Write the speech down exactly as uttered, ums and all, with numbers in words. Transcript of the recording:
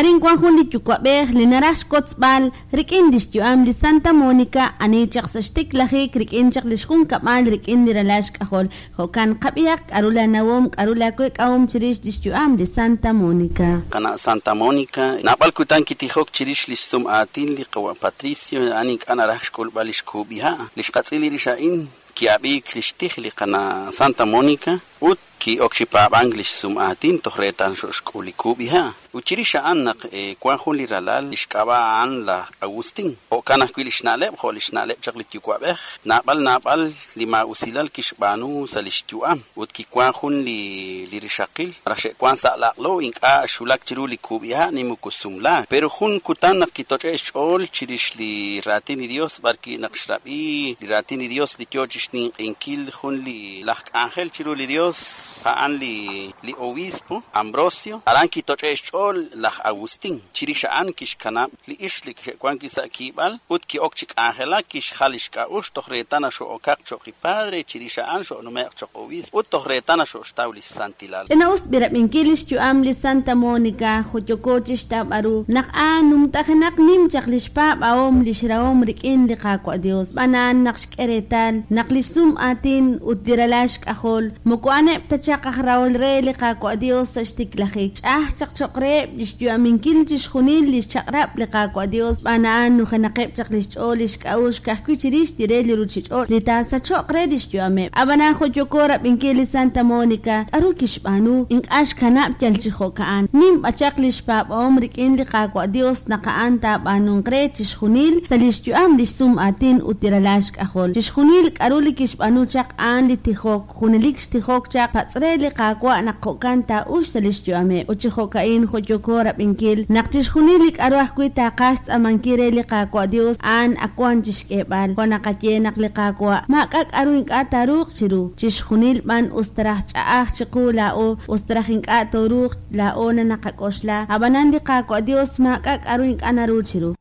Arin wan jun li yuwa'b'ej li naraj xwotzb'al rik'in lix yu'am li Santa Monica ani chaq sa' xtiklajik rik'in chaq lix junkab'al rik'in li ralal xk'ajol. Jo'kan qab'ihaq k'a'ru la nawom, k'a'ru la week'ahom chirix lix yu'am li Santa Monica. Qana' Santa Monica, naab'al kutan kitijok chirix lix sum aatin li qawa' Patricio, a'an ink'a' naraj xk'ulb'al lix kub'iha'. Lix qatz'il rix a'in ki'ab'iik lix tij li qana' Santa Monica ut ki'ok chi paab'ank lix sum aatin toj reetal xo'xk'ul li kub'iha'. Ut chirix a'an naq wan jun li ralal lix k'ab'a' a'an laj Agustín. Jo'kan ajwi' lix na'leb', jo' lix na'leb' chaq li yuwa'b'ej. Naab'al naab'al li maa'usilal kixb'aanu sa' lix yu'am. Ut kiwan jun li li rixaqil raj xe'wan sa' laq'lo ink'a' xulak chiru li kub'iha' ni moko sumlaak. Pero jun kutan naq kitoch'e' xch'ool chirix li raatin li Dios b'arwi' naq xrab'i li raatin li Dios li yoo chixninq'inkil jun li laj k'anjel chiru li Dios a'an li li obispo Ambrosio. Aran kitoch'e' xch'ool laj Agustín. Chirix a'an kixkanab' li ix li xe'wan ki sa' kiib'al ut ki'ok chi k'anjelak kixjal lix k'a'uxl toj reetal naxo'okaq cho'q li padre chirix a'an xo'nume'q cho'q obispo ut toj reetal naxo'xtaw li santilal. Ch'ina'us b'irab'inkil lix yu'am li Santa Monica joyoko chixtawb'al ru naq a'an numtajenaq nim chaq lix paab'ahom lix rahom rik'in li Qaawa' Dios. B'anaan naq xk'e reetal naq lix sum aatin ut li ralal xk'ajol moko a'aneb' ta chaq aj rahol re li Qaawa' Dios sa' xtiklajik. Ch'a'aj chaq cho'q reheb' lix yu'aminkil chixjunil lix chaq'rab' li Qaawa' Dios. B'an a'an nujenaqeb' chaq lix ch'ool lix k'a'uxl ka'ajwi' chirix li re li ruchich'och' li taasacho'q re lix yu'ameb'. Ab'anan joyoko rab'inkil li Santa Monica k'a'ru kixb'aanu ink'a' xkanab' yal chi jo'ka'an. Nim b'achaq lix paab'ahom rik'in li Qaawa' Dios naq a'an taab'aanunq re chixjunil sa' lix yu'am lix sum aatin ut li ralal xk'ajol. Chixjunil k'a'ru li kixb'aanu chaq a'an li tijok, junelik xtijok chaq patz' re li Qaawa' naq jo'kan taa'ux sa' lix yu'ameb'. Ut chi jo'ka'in joyoko rab'inkil naq chixjunil li k'a'ru ajwi' taaqaj xtz'aamankil re li Qaawa' Dios a'an akuan chixk'eeb'al. Jo' naqaye naq li Qaawa' maak'a' k'a'ru ink'a' taaruuq chiru. Chixjunil b'an us taraj ch'a'aj chiqu laa'o, us taraj ink'a' tooruuq laa'o na naqak'oxla. Ab'anan li Qaawa' Dios maak'a' k'a'ru ink'a' naru chiru.